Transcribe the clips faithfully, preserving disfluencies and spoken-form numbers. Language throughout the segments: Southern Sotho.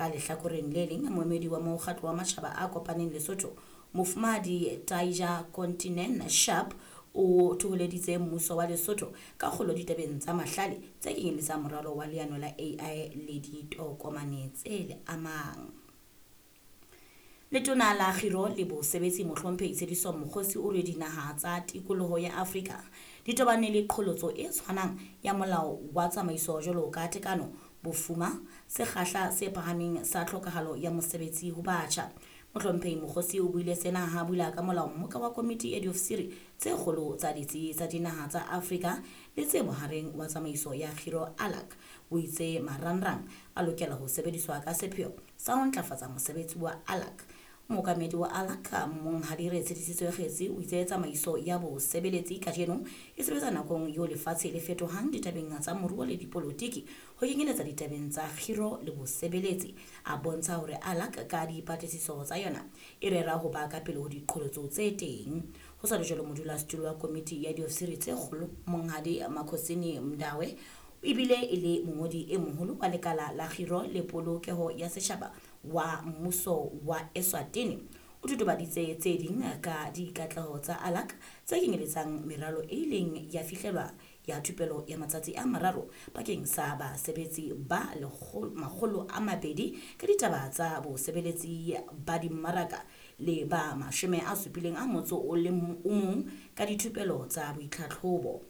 Ka lehlakoreng le leng, moemedi wa Mokgatlo wa Matjhaba a Kopaneng Lesotho, Mofumahadi Taija Kontinen Sharp, o thoholeditse mmuso wa Lesotho ka kgolo ditabeng tsa mahlale tse kenyeletsang moralo wa leano la A I le ditokomane tse le amang. Letona la Kgiro le Bosebetsi Mohlomphehi Tshediso Mokgosi o re dinaha tsa tikoloho ya Afrika di tobane le qholotso e tshwanang ya molao wa tsamaiso jwalo ka tekano, bofuma, sekgahla se phahameng sa tlhokahalo ya mosebetsi ho batjha. Mohlomphehi Mokgosi o buile sena ha bula ka molao mmoka wa komiti ya diofisiri tse kgolo tsa ditsi tsa dinaha tsa Afrika le tse bohareng wa tsamaiso ya Kgiro ALAC. O itse marangrang a lokela ho sebediswa ka sepheo sa ho ntlafatsa mosebetsi wa ALAC. Mookamedi wa ALAC Monghadi Retshedisitswe Kgetsi o itse tsamaiso ya bosebeletsi kajeno e sebetsa nakong eo lefatshe le fetohang ditabeng tsa moruo le dipolotiki ho kenyeletsa ditabeng tsa kgiro le bosebeletsi. A bontsha hore ALAC ka dipatlisiso tsa yona e rera ho ba ka pele ho diqholotso tse teng. Ho sa le jwalo, modulasetulo wa komiti ya diofisiri tse kgolo Monghadi Makhosini Mndawe ebile e le mongodi e moholo wa lekala la kgiro le polokeho ya setjhaba wa mmuso wa Eswatini o totobaditse tse ding ka dikatleho tsa ALAC tse kenyeletsang meralo e ileng ya fihlelwa ya thupelo ya matsatsi a mararo bakeng sa basebetsi ba makgolo a mabedi ka ditaba tsa bosebeletsi ba dimmaraka le ba mashome a supileng a motso o le mong ka dithupelo tsa boitlhatlhobo.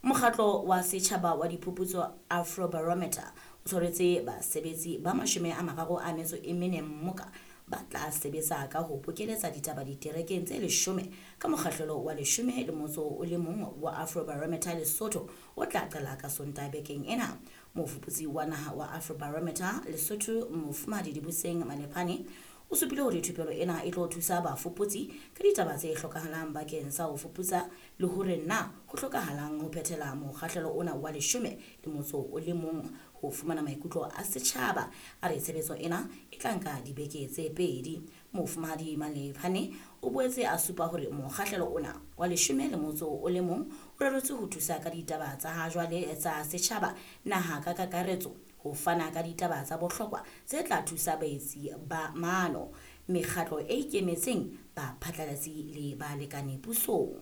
Mokgatlo wa setjhaba wa diphuputso Afrobarometer o tshwaretse basebetsi ba mashome a mararo a metso e mene mmoka ba tla sebetsa ka ho bokeletsa ditaba diterekeng tse leshome ka mokgahlelo wa leshome le motso o le mong wa Afrobarometer Lesotho o tla qala ka Sontaha bekeng ena. Mofuputsi wa naha wa Afrobarometer Lesotho Mofumahadi Dibuseng Malephane o supile hore thupelo ena e tlo thusa bafuputsi ka ditaba tse hlokahalang bakeng sa ho fuputsa le hore na ho hlokahalang ho phethela mokgahlelo ona wa leshome le motso o le mong ho fumana maikutlo a setjhaba. A re tshebetso ena e tla nka dibeke tse pedi. Mofumahadi Malephane o boetse a supa hore mokgahlelo ona wa leshome le motso o le mong o reretswe ho thusa ka ditaba tsa ha jwale tsa setjhaba naha ka kakaretso, ho fana ka ditaba tsa bohlokwa tse tla thusa baetsi ba maano, mekgatlo e ikemetseng, baphatlalatsi le balekane pusong.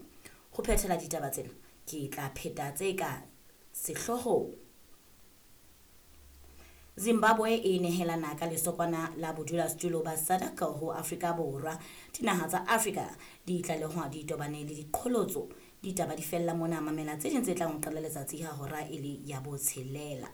Ho phethela ditaba tsena ke tla pheta tse ka sehloohong. Zimbabwe e nehelana ka lesokwana la bodulasetulo ba SADC ho Afrika Borwa. Dinaha tsa Afrika di tlalehwa di tobane le diqholotso. Ditaba di fella mona, mamela tse ding tse tlang ho qala letsatsi ha hora e le ya botshelela.